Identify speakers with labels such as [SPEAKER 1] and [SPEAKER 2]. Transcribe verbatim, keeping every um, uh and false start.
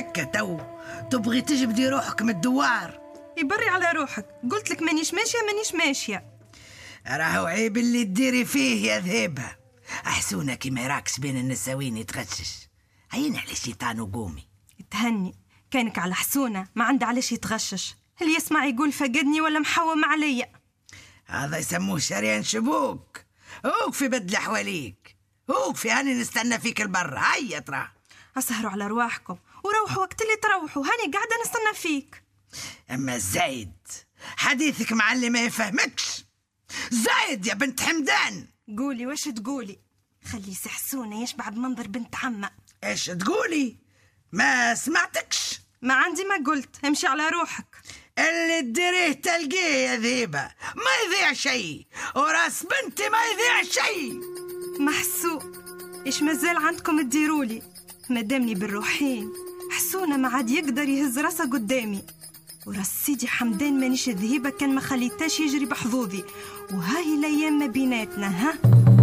[SPEAKER 1] هكا تو تبغي تجبدي روحك من الدوار؟
[SPEAKER 2] يبري على روحك، قلت لك مانيش ماشية مانيش ماشية.
[SPEAKER 1] راهو عيب اللي تديري فيه يا ذهبة. أحسونا كي ما يراكش بين النساوين يتغشش. عين على الشيطان وقومي.
[SPEAKER 2] تهني، كانك على حسونة ما عنده علاش يتغشش. اللي يسمع يقول فقدني ولا محوم عليا.
[SPEAKER 1] هذا يسموه شريان شبوك. اوقفي بدل حواليك، اوقفي هاني نستنى فيك البر. هيا ترى
[SPEAKER 2] اسهروا على رواحكم وروحوا وقت اللي تروحوا، هاني قاعدة نستنى فيك.
[SPEAKER 1] اما زايد حديثك مع اللي ما يفهمكش. زايد يا بنت حمدان.
[SPEAKER 2] قولي واش تقولي، خلي سحسونة يشبع بمنظر بنت عمه.
[SPEAKER 1] ايش تقولي؟ ما سمعتكش.
[SPEAKER 2] ما عندي ما قلت، امشي على روحك.
[SPEAKER 1] اللي تديريه تلقيه يا ذيبة، ما يضيع شيء، وراس بنتي ما يضيع شيء.
[SPEAKER 2] محسوب ايش مازال عندكم تديرولي؟ مادامني بالروحين حسونة ما عاد يقدر يهز راسه قدامي. وراس سيدي حمدان مانيش ذهيبة كان ما خليتاش يجري بحظوظي. وهاي الايام ما بيناتنا. ها